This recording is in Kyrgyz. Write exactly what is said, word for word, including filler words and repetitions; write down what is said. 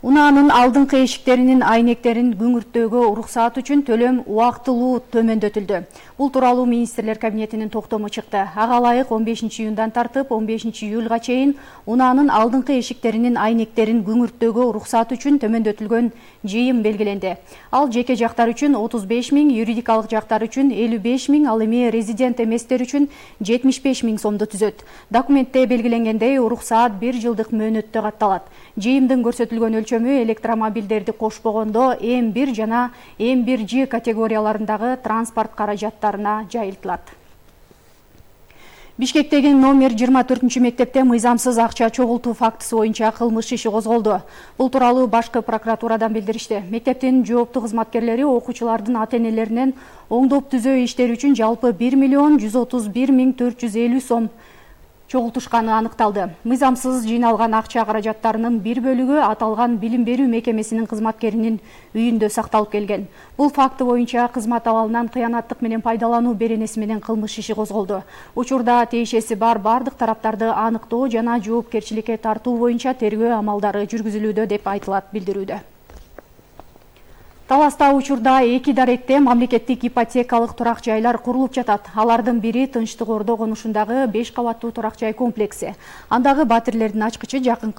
Унаанын алдыңкы эшиктеринин айнектерин күңүрттөөгө уруксаат үчүн төлөм убактылуу төмөндөтүлдү. Бул тууралуу министрлер кабинетинин токтому чыкты. Ага ылайык он бешинчи июндан тартып он бешинчи июлга чейин унаанын алдыңкы эшиктеринин айнектерин күңүрттөөгө уруксаат үчүн төмөндөтүлгөн жыйым белгиленди. Ал жеке жактар үчүн отуз беш миң, юридикалык жактар үчүн элүү беш миң, ал эми резидент эместер үчүн жетимиш беш миң сомду түзөт. Документте белгиленгендей, уруксаат бир жылдык мөөнөттө катталат. Жыйымдын көрсөтүлгөн өлчөмү электромобилдерди кошпогондо эм бир жана эм бир Ж категорияларындагы транспорт каражаттарына жайылтылат. Бишкектеги номер жыйырма төртүнчү мектепте мыйзамсыз акча чогултуу фактысы боюнча кылмыш иши козголду. Бул тууралуу башкы прокуратурадан билдиришти. Мектептин жооптуу кызматкерлери окуучулардын ата-энелеринен оңдоп түзөө иштери үчүн жалпы бир миллион жүз отуз бир миң төрт жүз элүү сом чогултушканы аныкталды. Мыйзамсыз жыйналган акча каражаттарынын бир бөлүгү аталган билим берүү мекемесинин кызматкеринин үйүндө сакталып келген. Бул факты боюнча кызмат абалынан кыянаттык менен пайдалануу беренеси менен кылмыш иши козголду. Учурда тиешеси бар бардык тараптарды аныктоо жана жоопкерчиликке тартуу боюнча тергөө амалдары жүргүзүлүүдө деп айтылат билдирүүдө. Таласта учурда эки даректе мамлекеттик ипотекалык турак жайлар курулуп жатат. Алардын бири Тынчтык Ордо конушундагы беш кабаттуу турак жай комплекси. Андагы батирлердин ачкычы жакын